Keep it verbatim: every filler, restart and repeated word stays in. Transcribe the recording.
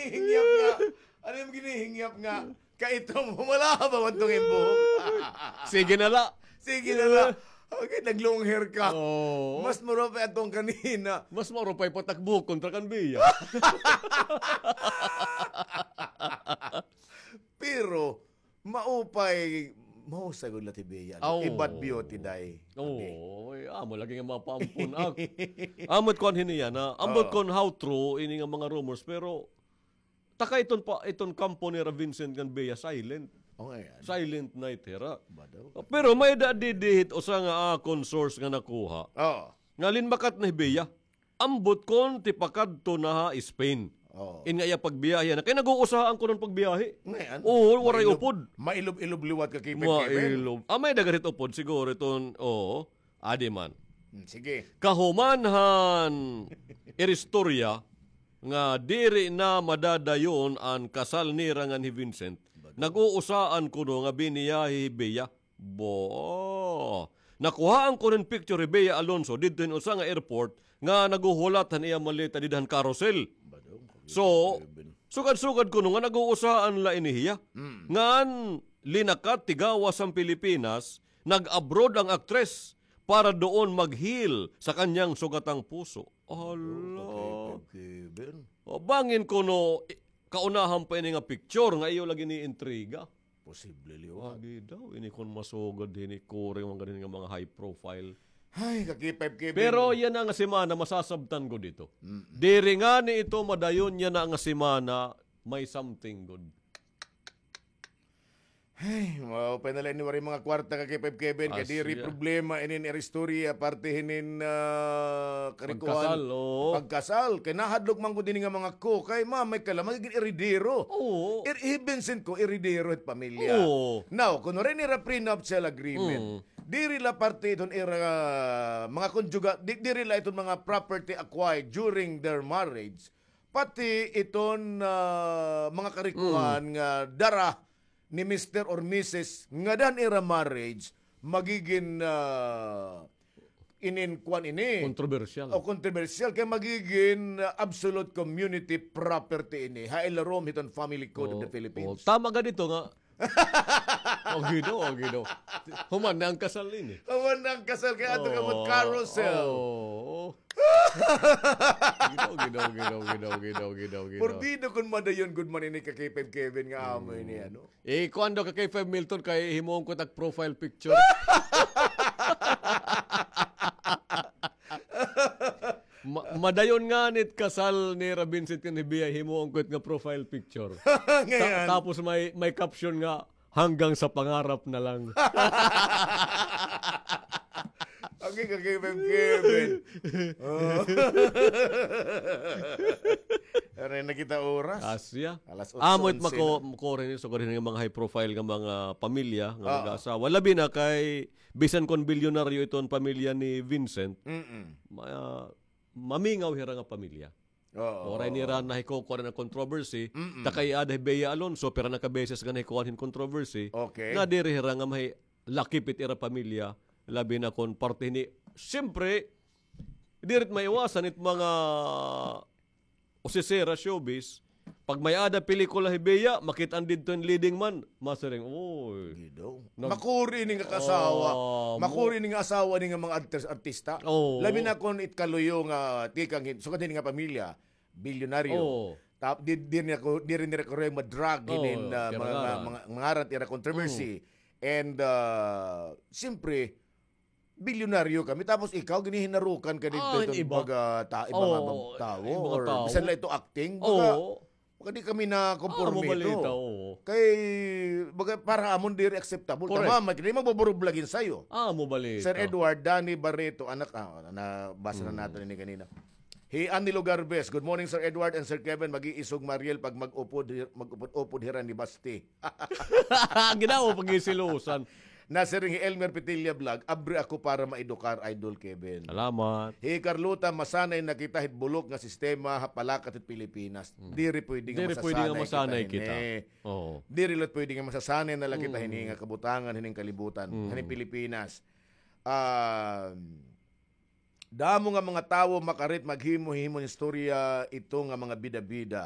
Hingyap nga. Ano yung ginihingyap nga? Kay ito mo, wala ka ba man tong imbuhok? Sige na la. Sige na la. Okay, nag-long hair ka. Oo. Mas marupay atong kanina. Mas marupay pa tak buhok kontra kan Bea. Pero, maupay, mahusay gud la ti Bea. Aw. Ibat beauty, day. Oo, ay, amo lagi nga mapaampon. Ah, amo it kuan hini yana. Ambot kon how true ini nga mga rumors, pero taka iton pa, iton kampo nira Vincent ngan Bea, silent. O, ayan. Silent night hira. Ba daw? Pero may-ada didi hit usa nga akon source nga nakuha. Oo. Nga linmakat na hi Bea. Ambot kon tipakadto na ha Spain. Oo. In nga iya pagbiyahe na. Kay nag-uusahaan kuno an pagbiyahe. Ngayon, oo, waray upod. Mailob-ilob liwat ka, K five Kevin. Mailob. Ah, may-ada gad hit upod siguro iton, oo. Adi man. Hmm, sige. Kahuman han ira istorya nga diri na madadayon an kasal nira ngan hi Vincent. Nag-uusaan kuno nga biniyahe hi Bea. Bo. Nakuhaan ko hin picture hi Bea Alonzo didto hin usa nga airport nga naghuhulat han iya maleta dida han carousel. So, sugad-sugad kuno nga nag-uusaan la ini hiya. Mm. Ngan linakat tigawas han Pilipinas, nag-abroad ang aktres para doon mag-heal sa kanyang sugatang puso. Hala. Kevin. O, bangin kuno, i-, kaunahan pa ini nga picture nga iyo lagi ni intriga. Posible liwat. Agi daw, ini kon masugad hini, kuring man gad hini nga mga high profile. Ay, ka-K five Kevin. Pero yana nga semana, masasabtan gud ito. Mm. Diri ngani ito madayon yana nga semana, may something gud. Ay, maupay na la ini waray mga kwarta, ka-K five Kevin, kay diri problema inin ira istorya, parte hinin, ah, karikuhan. Pagkasal, oo. Pagkasal. Kay nahadlok man gud ini nga mga ko. Kay mamay ka la, magigin eredero. Oo. Ir-, hi Vincent ko, eredero hit pamilya. Oo. Now, kuno rin ira prenuptial agreement. Mm. Diri la parte iton ira, ah, mga konjuga-, di-, diri la iton mga property acquired during their marriage. Pati iton, ah, mga karikuhan nga dara ni Mister or Missus ngada han ira marriage, magigin, ah, inin kuan ini. Kontrobersyal. O kontrobersyal, kay magigin, ah, absolute community property ini. Ha ilarom hiton Family Code of the Philippines. Oo. Tama gad ito nga, O, Ginoo, o, Ginoo. Human na ang kasal ini. Human na ang kasal, kay ato ka mag-carousel. Oo. Ginoo, Ginoo, Ginoo. Porbido kon madayon gud man ini ka K five Kevin nga amo ini, ano? Eh, kuan daw ka K five Milton, kay himuon ko tak profile picture. Ma-, madayon ngani it kasal nira Vincent ngan hi Bea, himuon ko it nga profile picture. Ta-, tapos may, may caption nga, "Hanggang sa pangarap na lang." Okay, ka K five Kevin. Oh. Ano na kita oras? Asya. Alas otso onse na. Amo it mako-, makuri ni, sugad hini nga mga high profile nga mga pamilya nga mag-aasawa. Labi na kay bisan kon bilyonaryo iton pamilya ni Vincent, ma-, mamingaw hira nga pamilya. Oo. Waray nira nahikukuan nga controversy. Ta kay ada hi Bea Alonzo, pira na ka beses nga nahikuan hin controversy. Okay. Nga diri hira nga mahi-, lakip it ira pamilya, labi na kon parte hini. Siyempre, diri it maiwasan it mga usisera showbiz, pag may-ada pelikula hi Bea, makit-an didto hin leading man, masiring, "Uy." Makuri ini nga kaasawa. Makuri ini nga asawa ini nga mga artis-, artista. Oo. Labi na kon it kaluyo nga tikang hin-, sugad hini nga pamilya, bilyonaryo. Oo. Tap-, di, di nira ko, diri nira ko rin ma-drag hinin, ah, mga, mga, mga ngaran, ira controversy. And, ah, siyempre, bilyonaryo kami, tapos ikaw, ginihinarukan ka didto iton baga ta-, mga tawo, or bisan la ito acting, baga, baga di kami nakomporme ito. Kay, baga, para amon diri acceptable. Tama, may kini magbuburublagin sayo. Sir Edward, Danny Barreto, anak, ah, nabasa na naton ini ganina. Hi Anilo Garbes, "Good morning, Sir Edward and Sir Kevin. Mag-iisog Mariel pag mag-upod, mag-upod-upod hira ni Basti." Ginawa pag-isilusan. Nasiring hi Elmer Petilla Vlog, "Abri ako para maedukar, Idol Kevin." Salamat. Hi Carlota, "Masanay na kita hit bulok nga sistema ha palakat hit Pilipinas." Diri pwede nga masasanay kita hini. Oo. Diri la pwede nga masasanay na la kita hini nga kabutangan, hining kalibutan, hining Pilipinas. Ah, Damo nga mga tawo makarit maghimo-himo hin istorya ito nga mga bida-bida.